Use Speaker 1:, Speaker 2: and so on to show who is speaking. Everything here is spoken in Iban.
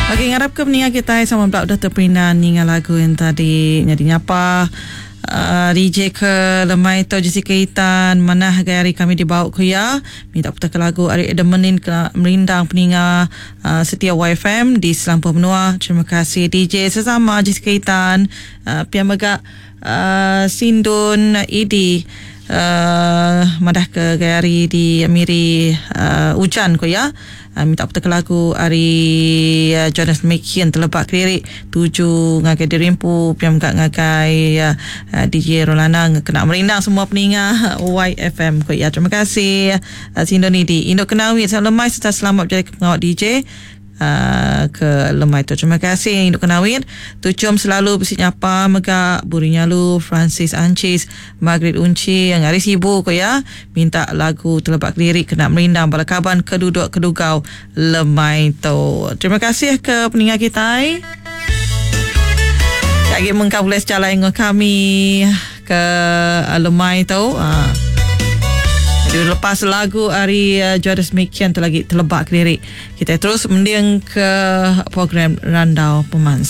Speaker 1: Agi ngarap ke peninga kitai sama bela udah teperindang ninga lagu yang tadi nyadi nyapa uh, DJ ke lemai tu Jessica Itan manah gai hari kami dibawa ku iya minta putar ke lagu ari Adam Menin ke merindang peninga uh, setia YFM di selampur menua. Terima kasih DJ sesama Jessica Itan uh, pia mega uh, Sindun Idi uh, madah ke gai hari di Miri uh, ujan ku iya. Minta putaka lagu ari Jonas Mekian teleba kediri tuju ngagai diri empu pia mega ngagai DJ Rolana kena merindang semua peninga YFM ku iya. Terima kasih Sindo Nidi. Indu Kenawit selamat lemai serta selamat bejalaika pengawa DJ. Ke lemai tu. Terima kasih Indu Kenawit. Tuchum selalu bisi nyapa mega Buri Nyalu, Francis Ancis, Margaret Unchi yang ari Sibu ko iya minta lagu Telebak Kediri kena merindang bala kaban ke duduk kedugau lemai tu. Terima kasih ke peninga kitai. Agi mengkang bulih sejalai enggau kami ke lemai tu. Jadi lepas lagu ari Jodas Mikian tu lagi telebak kediri. Kitai terus mending ke program Randau Pemansang.